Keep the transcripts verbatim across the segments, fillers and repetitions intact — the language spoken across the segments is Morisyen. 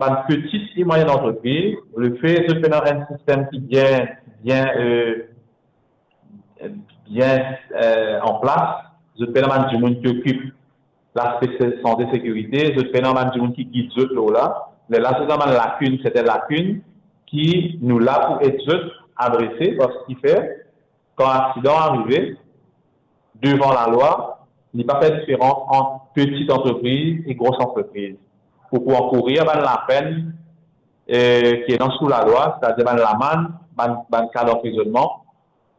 bann peti e mwayenn antrepriz, lefe zot pena enn sistem ki bien, bien, euh, bien, euh, an plas, zot pena bann dimoun ki okip laspe se-, sante sekirite, zot pena bann dimoun ki gid zot lor la. Lerla zot ena bann lakin, sertin lakin ki nou la pou ed zot adrese, parski fer, kan aksidan arive, devan lalwa, li pa fer diferans ant peti antrepriz e gro antrepriz. Pou, pou ankourir bann lapenn, eh, ki ena sou lalwa, setadir bann lamann, bann, bann ka danprizonnman,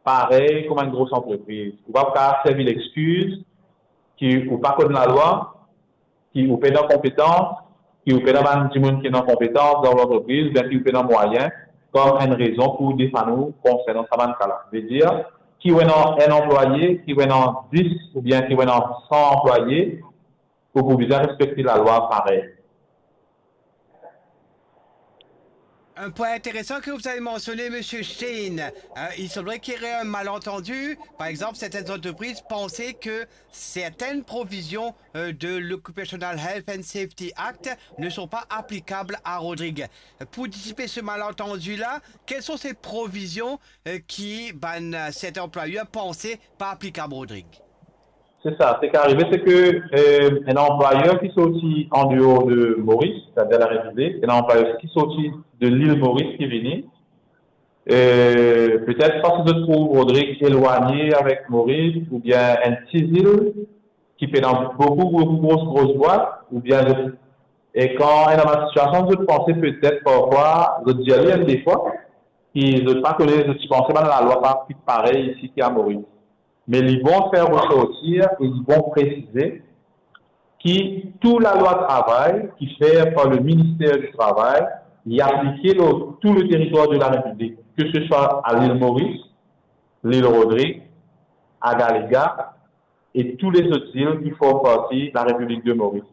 parey kouma enn gro antrepriz. Ou pa pou kapav servi lexkiz ki ou pa konn lalwa, ki ou pena konpetans, ki ou pena bann dimoun ki ena konpetans dan lantrepriz, oubien ki ou pena mwayen, kom enn rezon pou defann ou konsernan sa bann ka la. Vedir, ki ou ena enn anplwaye, ki ou ena dis, oubien ki ou ena san anplwaye, ou pou bizin respekte lalwa parey. Un point intéressant que vous avez mentionné, Monsieur Stein. Euh, il semblerait qu'il y aurait un malentendu. Par exemple, certaines entreprises pensaient que certaines provisions, euh, de l'Occupational Health and Safety Act ne sont pas applicables à Rodrigue. Pour dissiper ce malentendu-là, quelles sont ces provisions, euh, qui, ben, euh, cet employeur pensait pas applicables à Rodrigue? Se sa, seki arive, seki, eh, enn anplwayer ki sorti an deor de Moris, setadir Larepiblik, enn anplwayer ki sorti de lil Moris ki vini, eh, petet parski zot trouv Rodrig elwagne avek Moris, oubien enn ti zil ki pena boukou, boukou gro, gro bwat, oubien zot, e kan ena bann sitiasion, zot panse petet parfwa, zot dir li enn defwa, ki zot pa kone, zot ti panse bann lalwa pa finn parey isi ki a Moris. Me li bon fer resortir e li bon presize ki tou lalwa travay ki fer par le Ministère du Travail, li aplike lor tou le teritwar de la Repiblik, ke se swa a lil Moris, lil Rodrig, a Galiga e tou lezot zil ki form parti la Repiblik de Moris.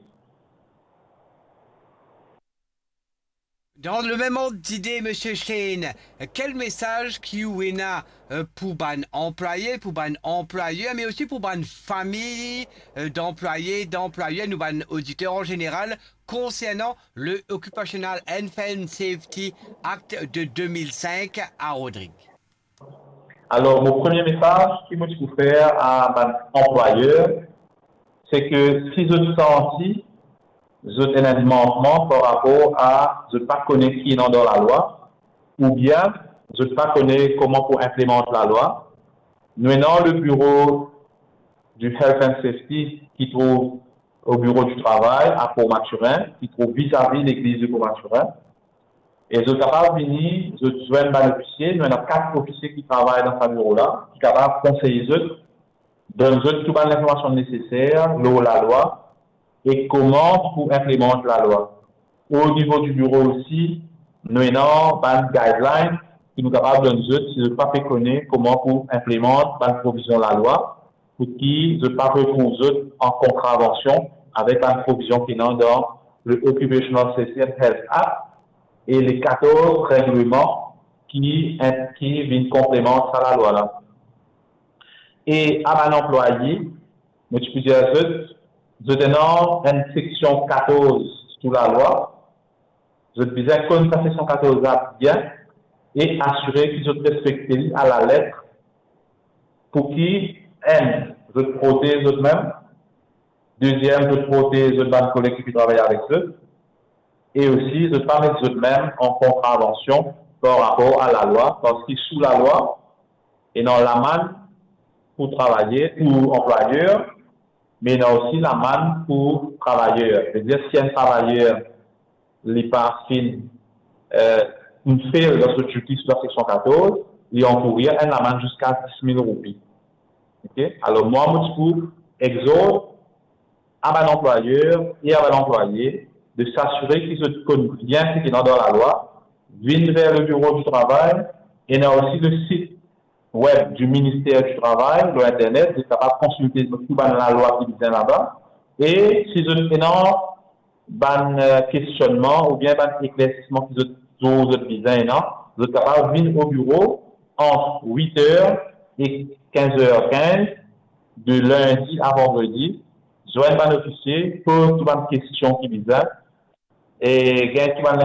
Dans le même ordre d'idée, Monsieur Shane, quel message ki ou ena, euh, pour bann anplwaye, pour bann anplwayer, mais aussi pour bann fami, euh, d'anplwaye, d'anplwayer, nou bann oditer an zeneral, konsernan le Occupational Health and Safety Act de deux mille cinq à Rodrigue? Alor, mo premie mesaz ki mo ti pou fer a bann anplwayer, seki si zot santi zot ena enn mankman par rapor a zot pa kone ki ena dan lalwa, oubien zot pa kone kouma pou inplemant lalwa, nou ena le biro du Health and Safety ki trouv o biro di travay a Port Mathurin, ki trouv vizavi legliz de Port Mathurin. E zot kapav vini, zot zwenn bann ofisie, nou ena kat ofisie ki travay dan sa biro la, ki kapav konsey zot, donn zot tou bann linformasion neseser lor lalwa e kouma pou inplemant lalwa. O nivo di biro osi, nou ena bann guideline ki nou kapav donn zot si zot pa pe kone kouma pou inplemant bann provizion lalwa, pou ki zot pa retrouv zot an kontravansion avek bann provizion ki ena dan le Occupational Safety and Health Act e le katorz regleman ki, ki vinn konplemant sa lalwa la. E a bann anplwaye, mo ti pou dir zot, zot ena enn seksion katorz sou lalwa, zot bizin konn sa seksion katorz la bien e asire ki zot respekte li a lalet, pou ki, enn, zot protez zot mem, deziem, zot protez zot bann koleg ki pe travay avek zot, e osi zot pa met zot mem an kontravansion par rapor a lalwa, parski sou lalwa, ena lamann pou travayer, pou anplwayer, me ena osi lamann pou travayer. Vedir, si enn travayer li pa finn, eh, finn fail dan so duty sou la seksion katorz, li ankourir enn lamann ziska dis mil roupi. Ok? Alor, mwa, mo ti pou egzort a bann anplwayer e a bann anplwaye de s'asire ki zot konn bien seki ena dan lalwa, vinn ver le biro di travay, ena osi le sit web du Ministère du Travail lor internet, zot kapav konsilte tou bann lalwa ki bizin laba. E si zot ena bann, eh, kestionnman oubien bann eklersisman ki zot, zot bizin ena, zot kapav vinn o biro ant wit er e kinz er kinz, de lindi a vandredi, zwenn bann ofisie, poz tou bann kestion ki bizin, E gagn ki bann